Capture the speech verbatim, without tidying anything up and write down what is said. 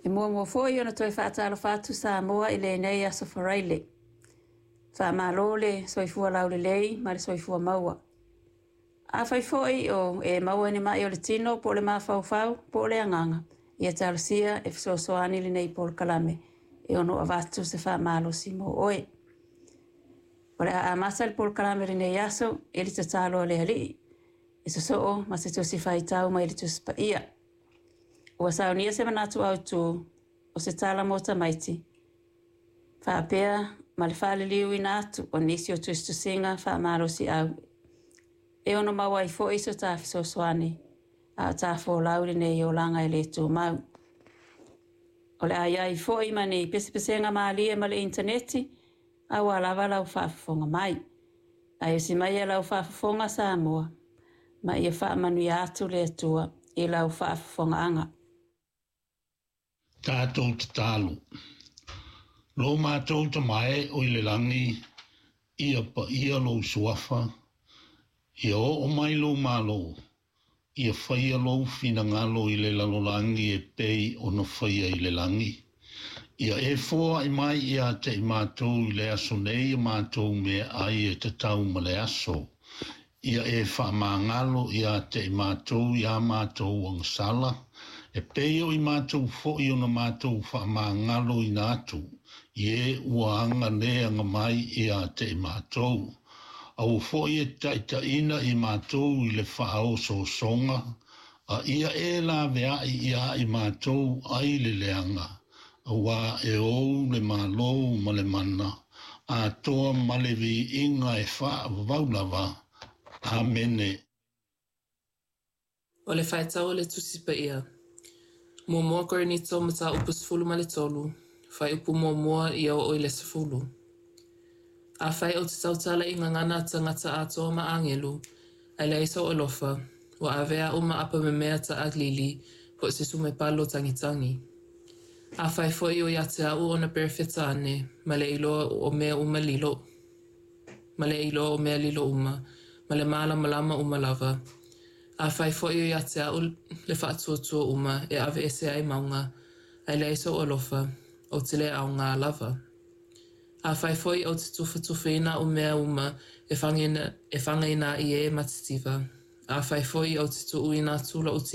E muamua foi ona toe faatalofa atu Samoa i lenei aso Faraile. Faamalo le soifua laulelei ma le soifua maua. Afai foi o e maua i ni mai o le tino po o le mafaufau po o le agaga, ia talosia e fesoasoani lenei polokalame e ono avatu se faamalosi mo oe. O le a amata le polokalame lenei aso i le tatalo a le Alii, e sosoo ma se tusi faitau mai le Tusi Paia. Ua saunia se manatu autu o se tala mo tamaiti, faapea ma le faaliliuina atu o nisi o tusitusiga faamalosiau e ono maua ai foi so ta fesoasoani a o ta folau i lenei olaga e le tumau. O le a i ai foi ma ni pesepesega malie ma le initaneti aua lava lau faafofoga mai. Ae usi maia lau faafofoga Samoa ma ia faamanuia atu le Atua i lau faafofogaaga. Tatou tatalo. Lo matou Tama e o i le lagi, ia paia lou suafa, ia oo mai lou Malo, ia faia lou finagalo i le lalolagi e pei ona faia i le lagi. Ia e foai mai ia te i matou i le aso nei a matou meaai e tatau ma le aso. Ia e faamagalo ia te i matou ia matou agasala, e pei o i matou foi ona matou faamagaloina atu, i e ua aga le aga mai ia te i matou. Aua foi e taitaiina i matou i le faaosoosoga, a ia e laveai ia i matou ai le leaga, auā e ou le Malo ma le mana, atoa ma le viiga e faavavau lava. Amene. O le faitau o le Tusi Paia. Muamua Korinito mataupu sefulu ma le tolu, fuaiupu muamua ia oo i le sefulu. Afai ou te tautala i gagana a tagata atoa ma agelu, ae leai sou alofa, ua avea au ma apamemea taalili po o se sumepalo tagitagi. Afai foi o ia te a'u ona perofeta ane, ma le iloa o mea uma lilo, ma le iloa o mea lilo uma, ma le mālamalama uma lava. Afai foi o ia te a'u le faatuatua uma e aveese ai mauga, ae leai sou alofa, ou te le aoga lava. Afai foi ou te tufatufaina a'u mea uma e fagaina, e fagaina ai e matitiva, afai foi ou te tuuina atu lo'u